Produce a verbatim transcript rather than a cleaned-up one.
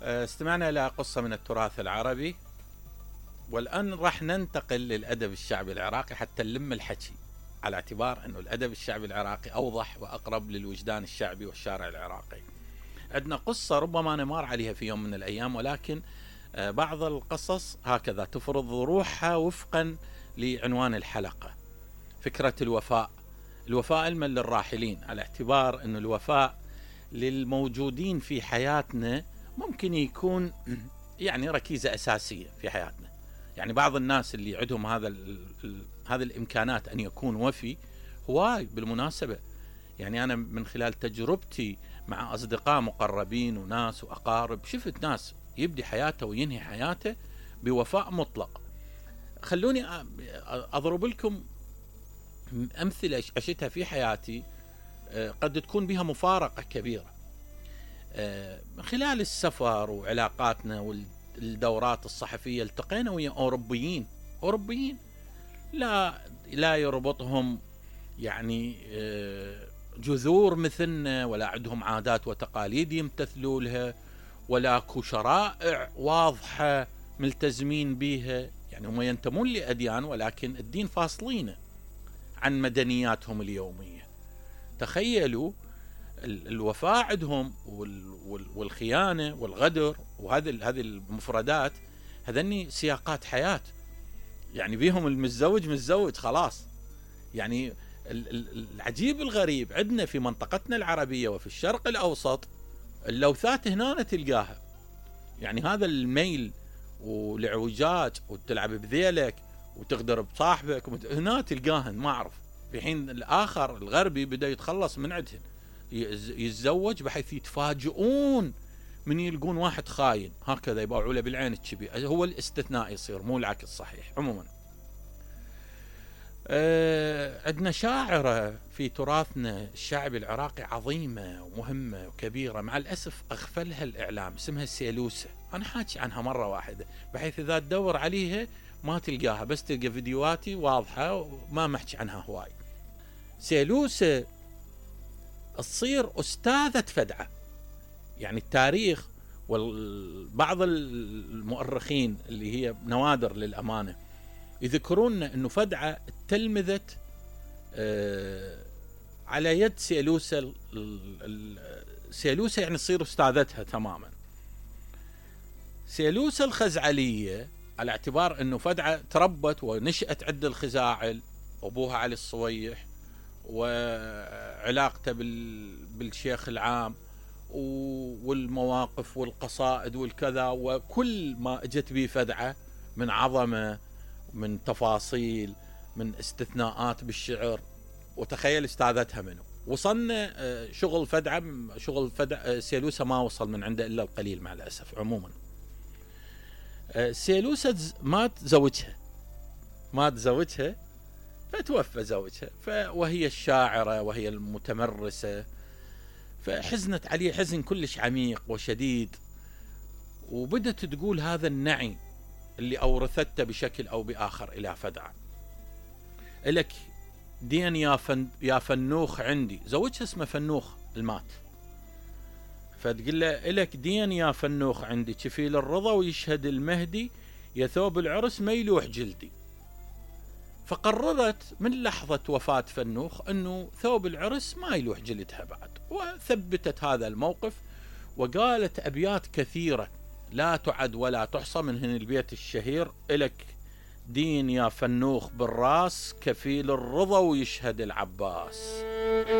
استمعنا إلى قصة من التراث العربي، والآن راح ننتقل للأدب الشعبي العراقي حتى نلم الحكي، على اعتبار أنه الأدب الشعبي العراقي أوضح وأقرب للوجدان الشعبي والشارع العراقي. عندنا قصة ربما نمر عليها في يوم من الأيام، ولكن بعض القصص هكذا تفرض روحها وفقا لعنوان الحلقة، فكرة الوفاء. الوفاء علما للراحلين، على اعتبار أن الوفاء للموجودين في حياتنا ممكن يكون يعني ركيزة أساسية في حياتنا. يعني بعض الناس اللي عندهم هذا هذه الإمكانات أن يكون وفي هواي بالمناسبة. يعني أنا من خلال تجربتي مع أصدقاء مقربين وناس وأقارب شفت ناس يبدي حياته وينهي حياته بوفاء مطلق. خلوني أضرب لكم أمثلة عشتها في حياتي قد تكون بها مفارقة كبيرة. من خلال السفر وعلاقاتنا والدورات الصحفية التقينا ويا أوروبيين أوروبيين لا لا يربطهم يعني جذور مثلنا، ولا عندهم عادات وتقاليد يمتثلوا لها، ولا اكو شرائع واضحة ملتزمين بها. يعني هم ينتمون لأديان ولكن الدين فاصلين عن مدنياتهم اليومية. تخيلوا الوفاء عندهم والخيانة والغدر وهذه هذه المفردات، هذني سياقات حياة. يعني بيهم المتزوج متزوج خلاص. يعني العجيب الغريب عندنا في منطقتنا العربية وفي الشرق الأوسط اللوثات هنا تلقاها. يعني هذا الميل والعوجاج وتلعب بذيلك وتغدر بصاحبك هنا تلقاهن ما أعرف، في حين الآخر الغربي بدأ يتخلص من عندهن، يتزوج بحيث يتفاجئون من يلقون واحد خاين هكذا يباعوا له بالعين الشبي. هو الاستثناء يصير مو العكس صحيح. عموما أه عندنا شاعرة في تراثنا الشعبي العراقي عظيمة ومهمة وكبيرة، مع الأسف أغفلها الإعلام، اسمها سيلوسة. أنا حاكي عنها مرة واحدة بحيث إذا تدور عليها ما تلقاها، بس تلقى فيديوهاتي واضحة وما محكي عنها هواي. سيلوسة تصير أستاذة فدعة. يعني التاريخ وبعض المؤرخين اللي هي نوادر للأمانة يذكرون أنه فدعة تلمذت على يد سيلوسة. سيلوسة يعني تصير أستاذتها تماما. سيلوسة الخزعلية على اعتبار أنه فدعة تربت ونشأت عند الخزاعل، أبوها علي الصويح وعلاقته بالشيخ العام والمواقف والقصائد والكذا، وكل ما اجت به فدعة من عظمة، من تفاصيل، من استثناءات بالشعر. وتخيل استاذتها منه. وصلنا شغل فدعة شغل فدعة سيلوسة ما وصل من عنده إلا القليل مع الأسف. عموما سيلوسة مات زوجها مات زوجها فتوفى زوجها، وهي الشاعرة وهي المتمرسة، فحزنت عليه حزن كلش عميق وشديد، وبدت تقول هذا النعي اللي أورثته بشكل أو بآخر إلى فدعة. إلك دين يا, فن يا فنوخ عندي، زوجها اسمه فنوخ المات، فتقول له إلك دين يا فنوخ عندي، كفيل الرضا ويشهد المهدي، يا ثوب العرس ما يلوح جلدي. فقررت من لحظة وفاة فنوخ أنه ثوب العرس ما يلوح جلدها بعد، وثبتت هذا الموقف وقالت أبيات كثيرة لا تعد ولا تحصى، منهن البيت الشهير إلك دين يا فنوخ بالراس، كفيل الرضا ويشهد العباس.